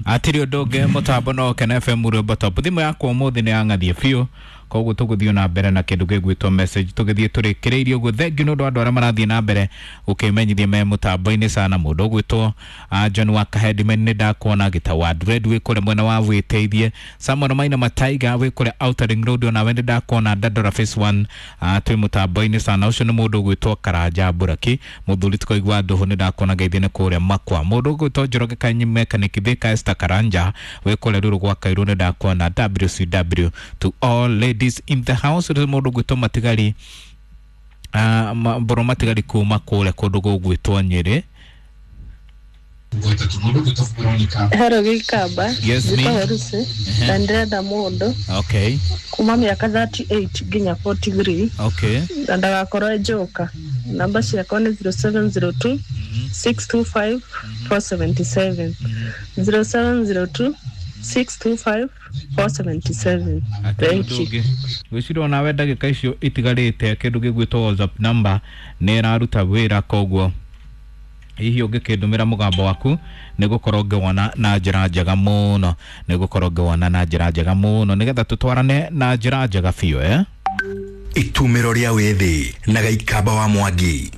Atirĩ ũndũ ũngĩ, mũtambo no Kena FM, rwĩmbo top. Thimũ yakwa ũmũthĩ nĩ yang'athie biũ, koguo tũgũthiĩ na mbere na kĩndũ gĩgwĩtwo message, tũgĩthiĩ tũrĩkĩrĩirie ũguo. Thengiũ nĩ ũndũ wa andũ arĩa marathiĩ na mbere gũkĩmenyithia me mũtambo-inĩ sana. Mũndũ ũgwĩtwo John wa Kahedimen, nĩ ndakuona. Gĩtau wa Dread wĩ kũrĩa mwena wa wĩteithie. Samuel Maina Mataiga wĩ kũrĩa Outer Ring Road, onawe nĩ ndakuona. Dandora Phase 1, twĩ mũtambo-inĩ sana. Ũcio nĩ mũndũ ũgwĩtwo Karanja Buraki, mũthuri tũkaigua ndũhũ, nĩ ndakuona. Ngeithi nĩ kũrĩa makwa. Mũndũ ũgwĩtwo Njoroge Kanyi Mechanic Thika, Esther Karanja wĩ kũrĩa Ruru gwa Kairũ, nĩ ndakuona. WCW to all ladies in the house. Rĩu mũndũ ũgwĩtwo Matigari, Mbũrũ Matigari kuma kũrĩa kũndũ gũgwĩtwo Nyĩrĩ. Hello, Gĩkamba. Yes, me. Njĩtagwo Lucy na ndĩrenda mũndũ kuma mĩaka 38 nginya 43 na ndagakorwo e njoka. Namba ciakwa nĩ 0702 625 477, 0702 625 477. Thank you. Gwĩciria onawe ndagĩka icio itigarĩte, kĩndũ gĩgwĩtwo WhatsApp number nĩ ĩraruta wĩra, koguo hihi ũngĩkĩndũmĩra mũgambo waku nĩ gũkorwo ngĩwona na njĩra njega mũno, nĩ gũkorwo ngĩwona na njĩra njega mũno, nĩgetha tũtwarane na njĩra njega biũ, eh? Itumĩro rĩa wĩthĩ na Gaikamba wa Mwangi.